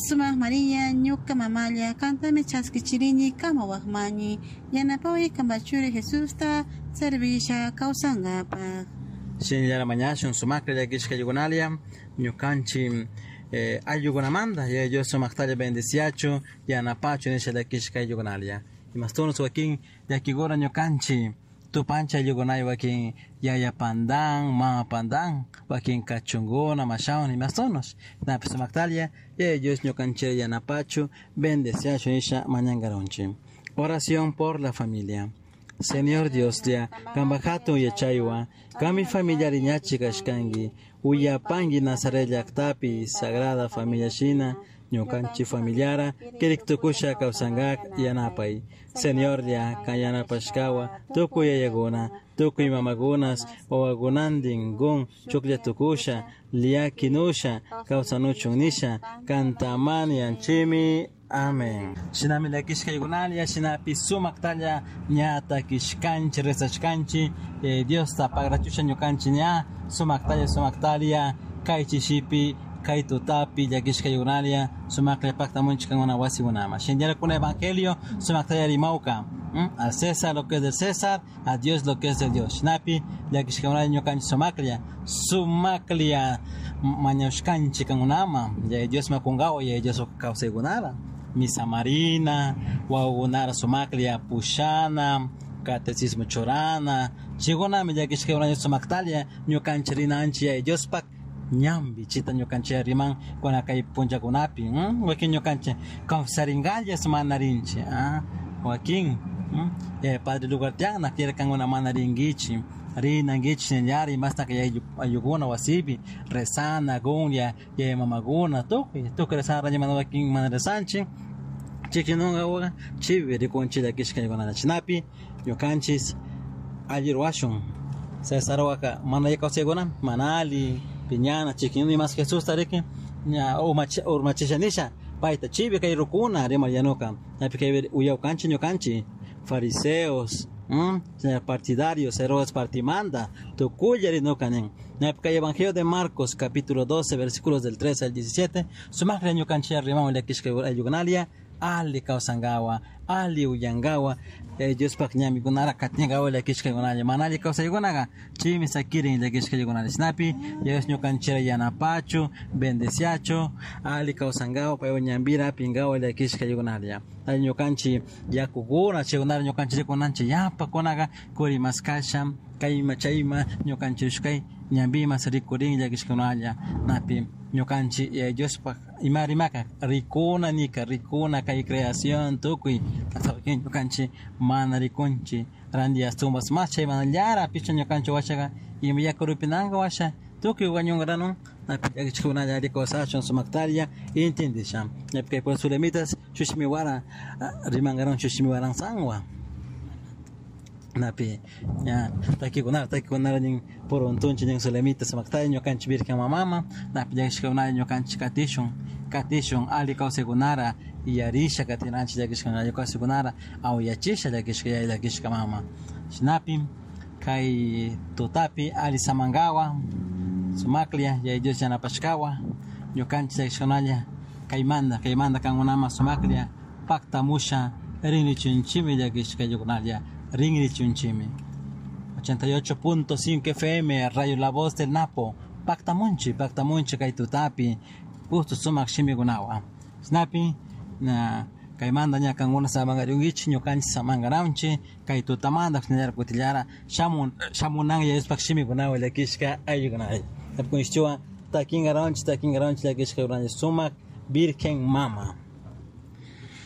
Sumak Maria, ñuka mamalla, kantami chaskichirini kamawakmani, yanapaway kanpak churi Jesusta servisha kawsankapak. Shinallara mañashun sumakta llakishka aylluykunalia ñukanchik ayllukunamanta Yaya Dios sumaktalla bendeciachu yanapachu nisha llakishka ayllukunalia. Imastunus wakin llakikuna ñukanchik tupanchik ayllukunay wakin yaya pandan, mama pandan, wakin kachunkuna mashawan imastunus. Shinapish sumaktalla Yaya Dios ñukanchik yanapachu bendeciachu nisha mañankarunchik. Oración por la familia. Señor Dioslla, kanpak hatun yachaywan, kanmi familia riñachik kashkanki, uyapanki Nazaret llaktapi Sagrada Familia shina ñukanchik familiara kirik tukusha kawsankak yanapay. Señorlla, kan yanapashkawan tukuy yayakuna, tukuy mamakunas, wawakunantin kun chuklla tukusha, llakinusha, kawsanuchun nisha, kantamani yanchimi. Amén. Shinami llakishka aylluykunalla, shinapi sumaktalla ña takishkanchik, rezashkanchik, Diosta pagrachusha ñukanchik ña sumaktalla sumaktalla kay chishipi, kay tutapi llakishka aylluykunalla sumaklla paktamunchik kankuna wasikunaman. Shinallara kuna evangelio sumaktalla rimawka. Al César lo que es del César, a Dios lo que es de Dios. Shinapi llakishkakunalla ñukanchik sumaklla, sumaklla mañashkanchik kankunaman, Yaya Dios makunkawa, Yaya Dios kawsaykunara. Misa marina, wawakunara sumaklla pushana, catecismo churana, chaykunami llakishkakunalla sumaktalla ñukanchik rinanchik Yaya Diospak ñambi, chita ñukanchik riman kuna kay punllakunapi, wakin ñukanchik confesarinkalla mana rinchik, wakin, Padre Lugartiana quiere kankuna mana rinkichik, rinankichik shinallara imastaka ayllukuna wasipi rezana, kunlla, yaya mamakuna, tukuy, tukuy rezana mana wakin mana rezanchik, chikinunka chivi rikunchik llakishka ayllukuna chinapi ñukanchik alli ruwashun. César waka mana kawsaykuna mana alli piñana chikinuni mas Jesusta riki ña urmachisha nisha payta chivi kay rukuna rimar yanuka ñapi kay uyawkanchik ñukanchik fariseos, partidarios, Herodes partimanda, tukuylla rinuka nin. Ñapi kay Evangelio de Marcos capítulo 12 versículos del 13 al 17 sumaklla ñukanchik rimamun llakishka ayllukunalia ali kawsankawa, ali uyankawa, Diospak ñamikunara katinkawa llakishkakunalla, mana alli kawsaykunaka chaymi sakirin llakishkakunalla. Shinapi Dios ñukanchikta yanapachu, bendeciachu, ali kawsankawa, paywan ñambira apinkawa llakishkakunalla. Ay ñukanchik yakukuna chaykunara ñukanchik rikunanchik yapakunaka kurimaskasha, kayma chayma ñukanchik ushkay ñambimas rikurin llakishkakunalla. Napi ñukanchik Diospak ima rimaka rikuna nika, rikuna kay creación tukuy ñukanchik mana rikunchik ranti astumbas mas chay manallara picha ñukanchik washaka ima yaku rupinanka washa tukuy wañunkaranun napi llakishkakunalla alli kawsashun sumaktalla intindisha. Ñapi kay pues sulemitas shushmiwara rimankaran shushmiwaran sanwa. Napi ña takikunara takikunara nin puruntunchik nin sulemita sumaktalla ñukanchik virgen mamama napi llakishkakunalla ñukanchik katishun katishun alli kawsaykunara yarisha katinanchik llakishkakunalla alli kawsaykunara awyachisha llakishka yaya llakishka mama. Shinapi kay tutapi alli samankawa sumaklla Yaya Dios yanapashkawa ñukanchik llakishkakunalla kaymanta kaymanta kankunaman sumaklla paktamusha rinrichunchikmi llakishka ayllukunalla rinrichunchikmi. 88.5 FM Radio La Voz del Napo paktamunchik paktamunchik kay tutapi justo sumak shimikunawan. Shinapi na kaymanta ña kankuna samankarunkichik ñukanchik samankaranchik kay tutamanta shinallara kutillara shamun shamunan Yaya Diospak shimikunawan llakishka ayllukunalla. Tapikunchikwan takinkaranchik takinkaranchik llakishka sumak Virgen Mama.